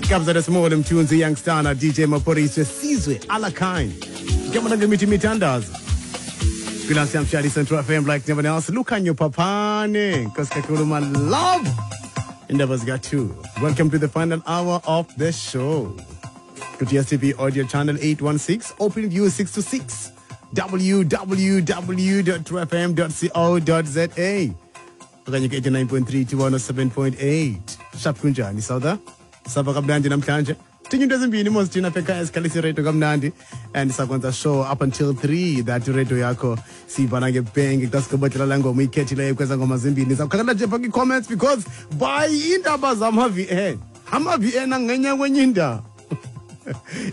Kabza De Small, Mthunzi, Youngstana, DJ Maphorisa, Sizwe, Alakine. Kama ngemithi imithandazo. Kwilansi yamshali Central FM like never else. Lukhanyo Phaphane. Nkosi kakhulu my love. Indaba zika 2. Welcome to the final hour of the show. Ku DStv audio channel 816, open view 6 to 6. www.truefm.co.za okanye ku-89.3 to 107.8. Sharp, kunjani sawuda? Sava kamnandi namhlanje. Tinye into ezimbini mos thina apha ekhaya, sikhalisa iradio kamnandi and sakwenza show up until 3 that iradio yakho siyibhala ngebhenki xa sigqibodlela laa ngoma uyikhethileyo kweza ngoma zimbini. Zawukhangela nje phaa kwi-comments because by iindaba zama-vn ama-vn angenya kwenye indawo.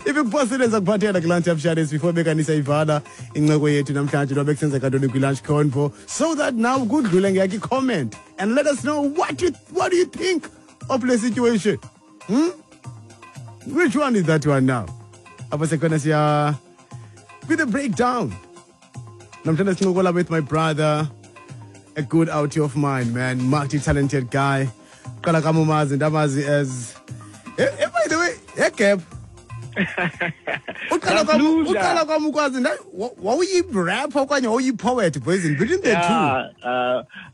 If ikuphosile, zakuphathela kulunch yamsharis before bekanisa ivala incoko yethu namhlanje noba bekusenzeka ntoni kwi-lunch convo, so that now kudlule ngeyakho i-comment and let us know what do you think of the situation. Which one is that one now? Apho sekhona siya with the breakdown. Namhlanje sincokola with my brother, a good outie of mine, man, multi-talented guy. Qala kamumazi ndamazi as by the way, egap uqala kwam. Ndiyadlula. Uqala kwam ukwazi wawuyi-rapper okanye wawuyi-poet, boys, between the two? Yeah,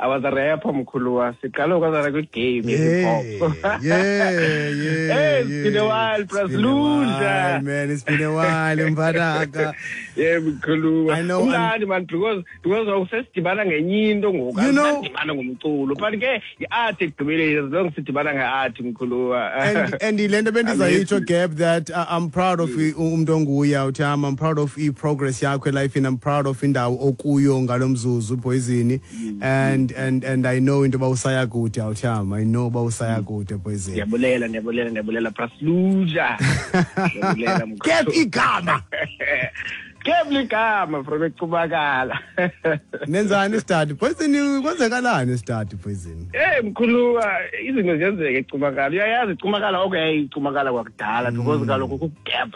I was a rapper, mkhuluwa. Siqala ukwazana kwi-game ye-hip hop. Hey, it's been a while, It's been a Bras while, man. It's been a while, mfanaka. Yeah, mkhuluwa. I know. Umnandi man because awusesidibana ngenye into ngoku. You know- Asidibana ngomculo. But ke i-art ekugqibeleni, as long sidibana nge-art, mkhuluwa. And le nto bendizayitsho, Gab, that I'm proud of umntu onguye utham. I'm proud of i-progress yakho elifini. I'm proud of indawo okuyo ngalo mzuzu, Poison, and I know into yoba usaya kude, awutham. I know uba usaya kude, Poison. Ndiyabulela, ndiyabulela, ndiyabulela, Brasluja. Ndiyabulela, mkhulu. Gab igama. Gab ligama from eCumakala. Nenzani isitadi, Poison? Kwenzekalani isitadi, Poison? Hey mkhuluwa, izinto ziyenzeka eCumakala. Uyayazi iCumakala, okay, iCumakala kwakudala because kaloku ku-gap.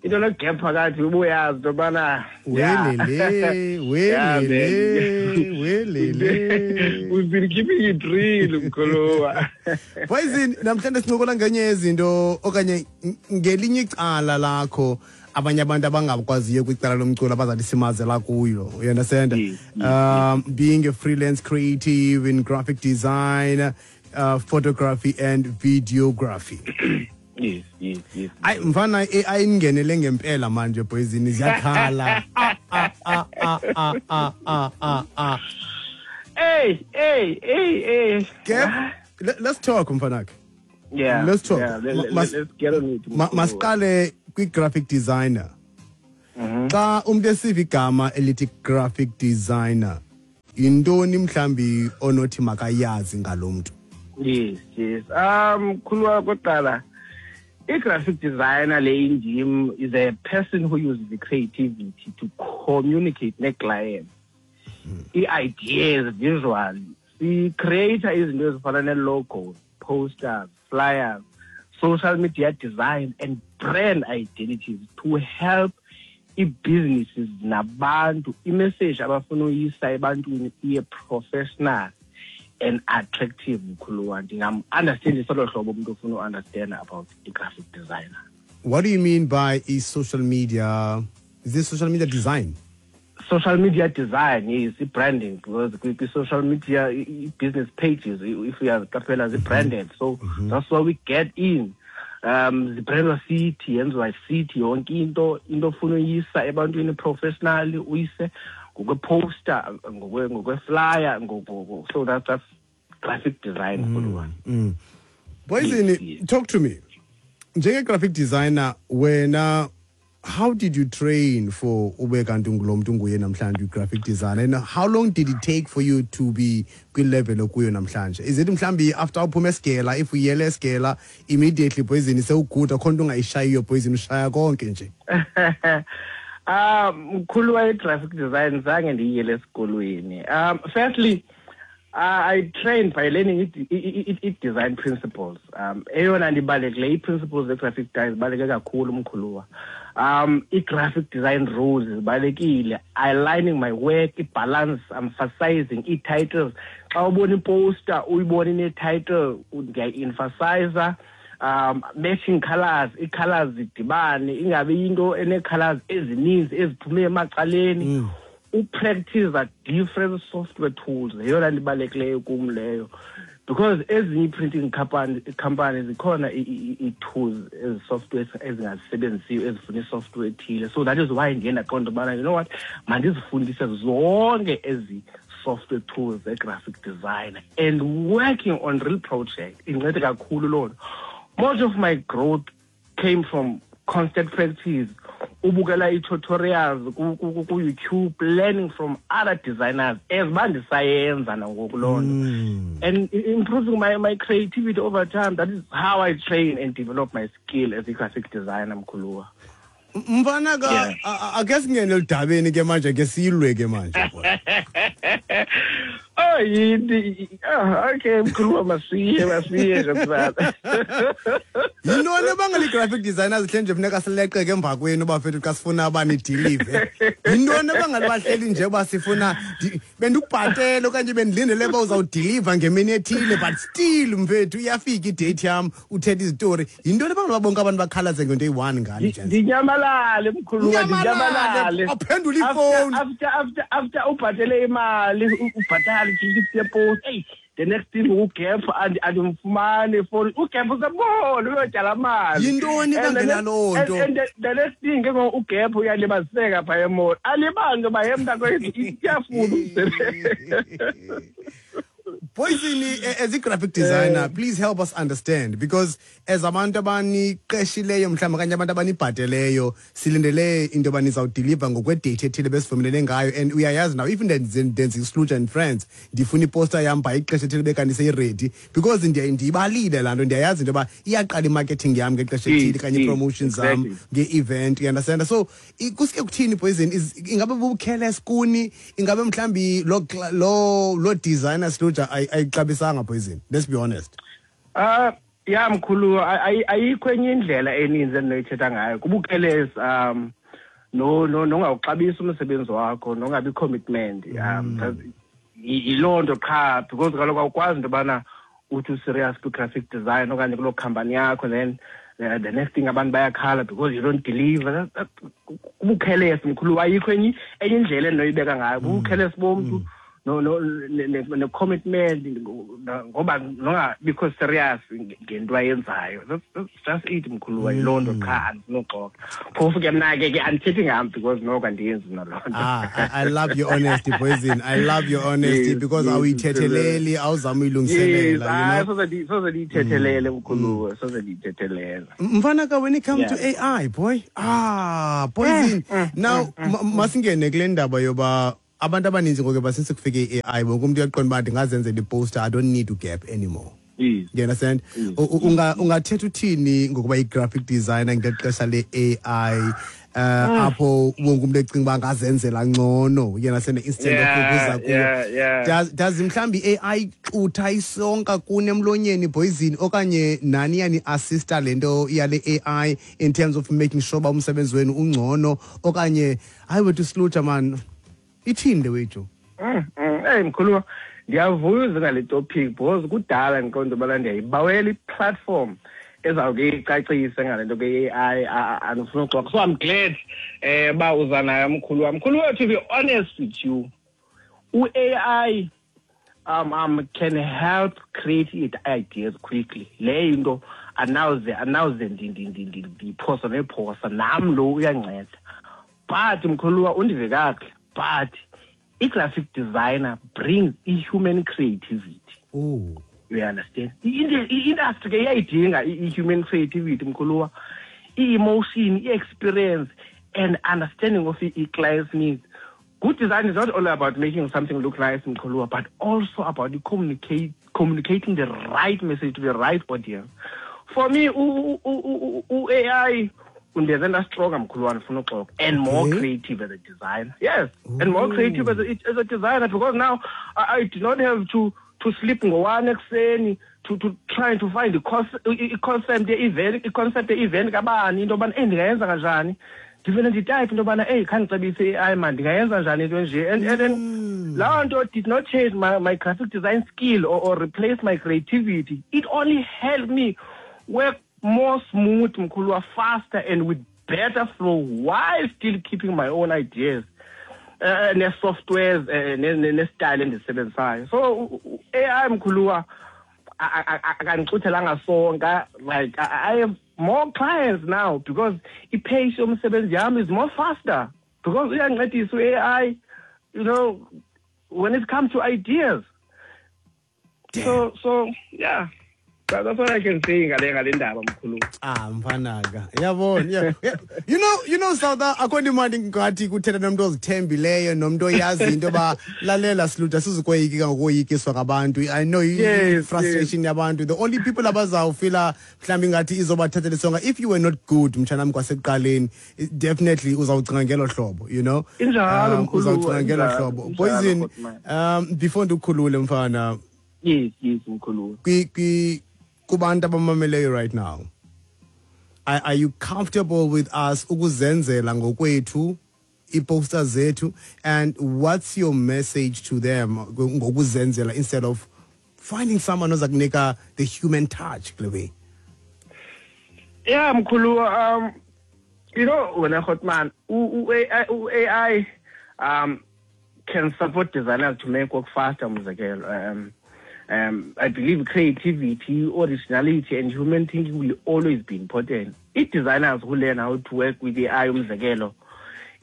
Into no-gap phakathi ubuyazi into yobana Welele. Yeah, man. Welele, welele. We've been keeping it real, mkhuluwa. Poison, namhlanje sincokola ngenye yezinto okanye ngelinye icala lakho abanye abantu abangakwaziyo kwicala lomculo abazathi simazela kuyo, you understand? Yes. Being a freelance creative in graphic design, photography and videography. Yes. Ayi mfana, ayingenele ngempela manje, Poison, ziyakhala. Ah, ah, ah, ah, ah, ah, ah, ah, ah. Hey, hey, hey, hey. Gab, let's talk, mfanakhe. Yeah. Let's talk. Yeah, let's get on it, mkhulu. Masiqale kwi-graphic designer. Xa umuntu esiva igama elithi graphic designer, yintoni mhlambi onothi makayazi ngalo mntu? Yes. Mkhulu, kokuqala, i-graphic designer le indim is a person who uses the creativity to communicate ne-client i-ideas visually. Si-create izinto ezifana nee-logos, posters, flyers, social media design and brand identities to help ii-businesses nabantu imessage abafuna uyisa ebantwini iye professional and attractive, mkhuluwa. Ndingam-understandisa olo hlobo umntu ofuna u-understand about i-graphic designer. What do you mean by i-social media? Is this social media design? Social media design is i-branding because kwi-social media i-business pages, if uyaziqaphela, zi-branded, so that's why we get in. Zibrandwa sithi, yenziwa sithi yonke into ofuna uyisa ebantwini professionally, uyise ngokwe-poster, ngokwe-flyer, so that's graphic design, mkhuluwa. Poison, Yes. talk to me. Njenge-graphic designer wena, how did you train for ube kanti ungulo mntu unguye namhlanje i-graphic designer, and how long did it take for you to be kwi-level okuyo namhlanje? Is it mhlawumbi after uphuma esigela, if uyele esigela immediately, Poison, sewuguda, akho nto ungayishayiyo, Poison, ushaya konke nje? Mkhulu, i-graphic design zange ndiyiyele esikolweni. Firstly, I trained by learning i-design principles. Eyona nto ibalulekileyo, ii-principles ze-graphic design zibaluleke kakhulu, mkhuluwa. I-graphic design rules zibalulekile, aligning my work, i-balance, emphasizing ii-titles. Xa ubona iposter uyibona ine-title, ndiyayi-emphasiza. Matching colors, ii-colors zidibane, ingabi into enee-colors ezininzi eziphume emacaleni. Upractice different software tools yeyona nto ibalulekileyo kum leyo, because ezinye ii-printing company zikhona ii-tools, ezi-software ezingazisebenzisiyo, ezifuna i-software ethile. So that is why ndiye ndaqonda ubana, you know what, mandizifundise zonke ezi software tools ze-graphic design, and working on real project incede kakhulu loo nto. Most of my growth came from constant practice, ubukela ii-tutorials ku-YouTube, learning from other designers as uba ndisayenza nangoku loo nto, and improving my creativity over time. That is how I train and develop my skill as a graphic designer, mkhuluwa. Mfana ka ake singene eludabeni ke manje, ke silwe ke manje, boy. Oh, yini? Oh, okay, mkhuluwa, masiye nje mfana. Yintoni ebangela ii-graphic designers hle nje funeka sileqeke emva kwenu, bafethu, xa sifuna uba nidelive? Yintoni ebangela bahleli nje uba sifuna bendikubhatele okanye bendilindele uba uzawudeliva ngemini ethile, but still, mfethu, iyafika idate yam uthetha izitori? Yintoni ebangela uba bonke abantu bakhalaze ngento eyi-one ngani, gents? Ndinyamalale, mkhuluwa, ndinyamalale. Aphendula ifowuni. After ubhatele imali, ubhatale i-ticket yepost, eyi, the next thing ugap andimfumani for ugap usebona uyotyala mali. Yintoni And the ebangela loo nto? And the next thing ke ngoku ugap uyalibaziseka phaa emall, alibali nto uba ye mntakwethu iyafuna umsebenzi. Poison, as a graphic designer, please help us understand, because as abantu abaniqeshileyo mhlawumbi okanye abantu abanibhateleyo, silindele into yoba nizawudeliva ngokwedate ethile besivumelene ngayo. And uyayazi now, even ndenza iSluja and Friends, ndifuna iposter yam by ixesha ethile bekanti seyiready, because ndiyibalile laa nto, ndiyayazi into yoba iyaqala imarketing yam ngexesha ethile kanye ii-promotions zam nge-event, you understand? So kusuke kuthini, Poison? Ingabe bubucareless kuni? Ingabe mhlawumbi loo designer Sluja ayixabisanga, Poison? Let's be honest. Ya, mkhulu, ayikho enye indlela eninzi endinoyithetha ngayo. Kubucareless, no nongawuxabisi umsebenzi wakho, nongabi commitment. Yiloo nto qha, because kaloku awukwazi into yobana uthi userious kwi-graphic design okanye kuloo company yakho, then the next thing abantu bayakhala because you don't deliver. Kubucareless, mkhulu, ayikho enye indlela endinoyibeka ngayo. Bubucareless bomntu no ne-commitment, ngoba nongabikho serious ngento ayenzayo. That's just it, mkhulu, yiloo nto qha, andinoxoka. Phofu ke mna ke andithethi ngam because noko andiyenzi mna loo nto. Ah, I love your honesty, Poison. I love your honesty, because awuyithetheleli, awuzama uyilungiselela, you Hayi, know? Soze ndiyithethelele, mkhulu, soze ndiyithethelele. Mfana ka, when it comes to AI, boy, Poison. Now, masingene kule ndaba yoba abantu abaninzi ngoku basince kufike i-AI, wonke umntu uyaqonda uba ndingazenzela iposter, I don't need to gap anymore. You understand? Ungathetha uthini ngokuba i-graphic designer ngexesha le-AI, apho wonke umuntu ecinga uba angazenzela ngcono, you understand, instead of ukuza kuwo? Does mhlawumbi i-AI xutha isonka kuni emlonyeni, Poison, okanye nani yani-assista le nto yale AI in terms of making sure uba umsebenzi wenu ungcono, okanye hayi wethu Sluja man, ithini le wethu? Hey, mkhulu, ndiyavuya uze ngale topic because kudala ndiqonda ubana ndiyayibawela i-platform ezawuke icacise ngale nto ke i-AI, andifuna uxoxa. So I'm glad uba uza nayo, mkhulu wam. Mkhulu wethu, to be honest with you, u-AI can help create ideas quickly. Le into anawuze ndiphosa nephosa nam lo uyanceda. But mkhuluwa, undive kakuhle, but i-graphic designer brings i-human creativity. You understand? I-industry ke iyayidinga i-human creativity, mkhuluwa. I-emotion, i-experience and understanding of i-client's needs. Good design is not only about making something look nice, mkhuluwa, but also about communicating the right message to the right audience. For me, u-AI undenze ndastronger, mkhuluwa, ndifuna uxoka, and more creative as a designer. Yes, and more creative as a designer, because now I do not have to sleep ngo-1 ekuseni to try to find i-concept ye-event, i-concept ye-event kabani, into yobana, ndingayenza kanjani. Ndivele nditype into yobana, eyi, khandicebise i-AI man, ndingayenza njani into enje. And then loo nto did not change my graphic design skill or replace my creativity. It only helped me work more smooth, mkhuluwa, faster and with better flow while still keeping my own ideas ne-softwares, ne-style endizisebenzisayo. So AI, mkhuluwa, akandixuthelanga sonka. Like, I have more clients now because i-pace yomsebenzi yam is more faster because uyancedisa u-AI, when it comes to ideas. Damn. So yeah, that's what I can say ngale ndaba, mkhulu. Ah, mfanaka, yabona, yeah. South, akho nto imandi ngathi kuthetha nomntu ozithembileyo, nomntu oyazi into yoba lalela silutha sizukoyikika ngokoyikiswa ngabantu. I know frustration yabantu. The only people abazawufila mhlawumbi ingathi izobathathela isonka, if you were not good, mtshanam, kwasekuqaleni, definitely uzawucinga ngelo hlobo. Injalo, mkhulu, Uzawucinga ngelo injalo, hlobo. injalo, Poison, Hotman. Before ndikukhulule, mfana. Yes, mkhulu. Kubantu abamameleyo right now, are you comfortable with us ukuzenzela ngokwethu i-posters zethu, and what's your message to them ngokuzenzela instead of finding someone oza kunika the human touch kule way? Yeah, mkhulu, wena Hotman, u-AI can support designers to make work faster, umzekelo. I believe creativity, originality, and human thinking will always be important. If designers who learn how to work with AI, umzekelo,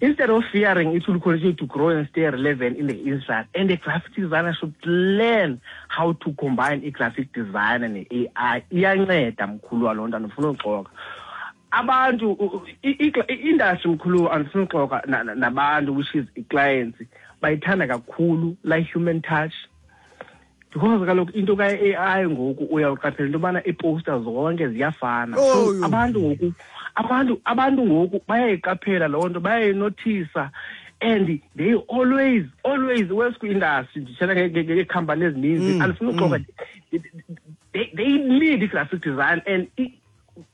instead of fearing, it will continue to grow and stay relevant in the industry. And the graphic designer should learn how to combine a graphic design and AI. Iyanceda, mkhulu, loo nto, andifuna uxoka. Abantu, i-industry, mkhulu, andifuna uxoka, nabantu, which is i-clients, bayithanda kakhulu la human touch. Because kaloku into ka-AI ngoku uyawuqaphela into yobana ii-poster zonke ziyafana. So Oh, yo. abantu ngoku bayayiqaphela loo nto, bayayinothisa, and they always work kwi-industry, ndithetha ngeekhampani ezininzi, andifuna uxoka, they need i-graphic design, and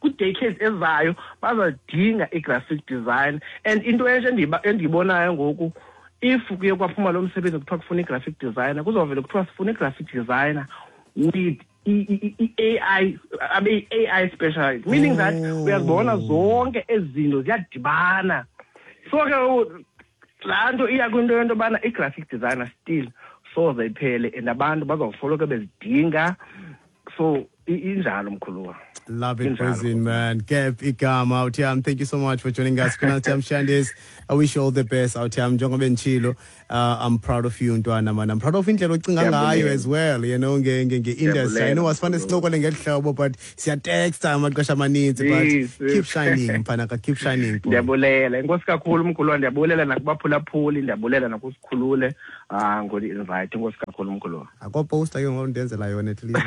kwi-decades ezayo bazadinga i-graphic design. And into entsha endiyibonayo ngoku, if kuye kwaphuma lo msebenzi kuthiwa kufuna i-graphic designer, kuzovele kuthiwa sifuna i-graphic designer with i-AI, abe yi-AI specialist, meaning that uyazibona zonke ezi zinto ziyadibana. So ke laa nto iya kwinto yento yobana i-graphic designer still soze iphele, and abantu bazawusoloko bezidinga. So injalo, mkhuluwa. Love it, Injalo. Poison, man. Gap Igama, Awuthiam, thank you so much for joining us. Kunatiam Shandis, I wish you all the best. Awuthiam, njengoba nditshilo, I'm proud of you, ntwana, man. I'm proud of indlela ocinga ngayo Ndiyabulela. as well, nge-industry. I know Ndiyabulela. asifane sincokole ngeli hlobo, but siyatexta amaxesha amaninzi, but keep shining, mfana, keep shining, boy. Ndiyabulela. Enkosi kakhulu, mkhulu. Ndiyabulela nakubaphulaphuli, ndiyabulela nakusikhulule, ngoli-invite. Enkosi kakhulu, mkhulu. Akho poster ke ngoku ndenzela yona at least.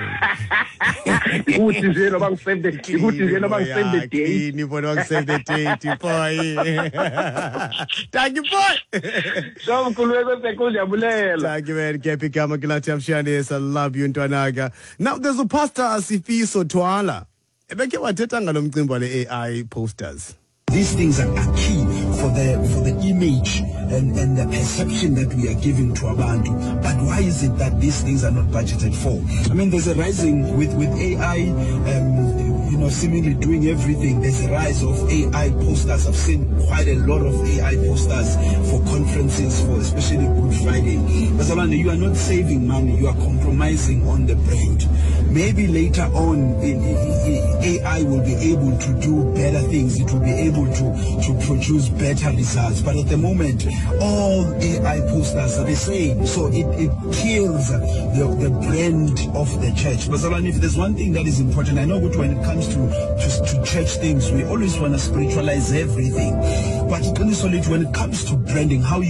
Ikuthi nje noba ngi-save the, ikuthi nje noba ngi-save the date. Clean, boy, ngi save the date, boy. Thank you, boy. So, mkhulu, enkosi kakhulu, ndiyabulela. Thank you, man. Gap Igama, Gilati Amshanis. I love you, ntwanaka. Now, there's a pastor, Sifiso Twala. Ebekhe wathetha ngalo mcimbi wale AI posters. These things are key for the image and the perception that we are giving to abantu. But why is it that these things are not budgeted for? There's a rising with AI, seemingly doing everything. There's a rise of AI posters. I've seen quite a lot of AI posters for conferences, for especially Good Friday. But Zalwane, you are not saving money, you are compromising on the brand. Maybe later on, AI will be able to do better things. It will be able to produce better results. But at the moment, all AI posters are the same. So it kills the brand of the church. But Zalwane, if there's one thing that is important, I know when it comes to church things, we always want to spiritualize everything. But when it comes to branding, how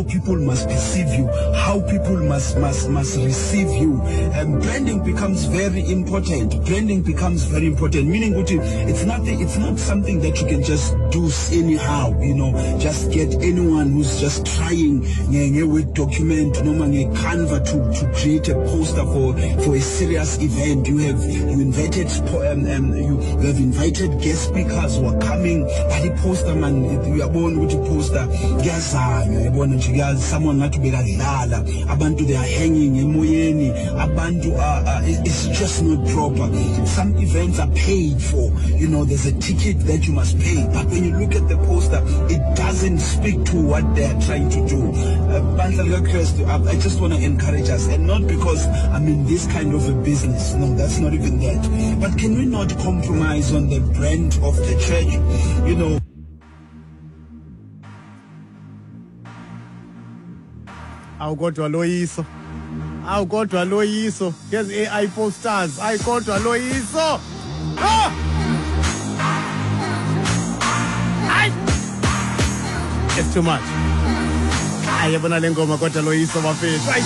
people must perceive you, how people must receive you, branding becomes very important. Branding becomes very important. Meaning, it's not something that you can just do anyhow. Just get anyone who's just trying a Word document, noma nge Canva to create a poster for a serious event. You have invited guest speakers who are coming, but the poster man, you Uyabona ukuthi poster kuyazanywa, yabona nje kuya someone ngathi bekadlala. Abantu, they are hanging emoyeni. Abantu are, it's just not proper. Some events are paid for. There's a ticket that you must pay, but when you look at the poster, it doesn't speak to what they are trying to do. Bandla likaKristu, I just want to encourage us, and not because I'm in this kind of a business. No, that's not even that. But can we not compromise on the brand of the church? Awu kodwa loyiso, awu kodwa loyiso ngezi AI posters. Ayi kodwa loyiso, ah! Ayi, it's too much. Ayi, yabona le ngoma kodwa loyiso, bafethu. Ayi.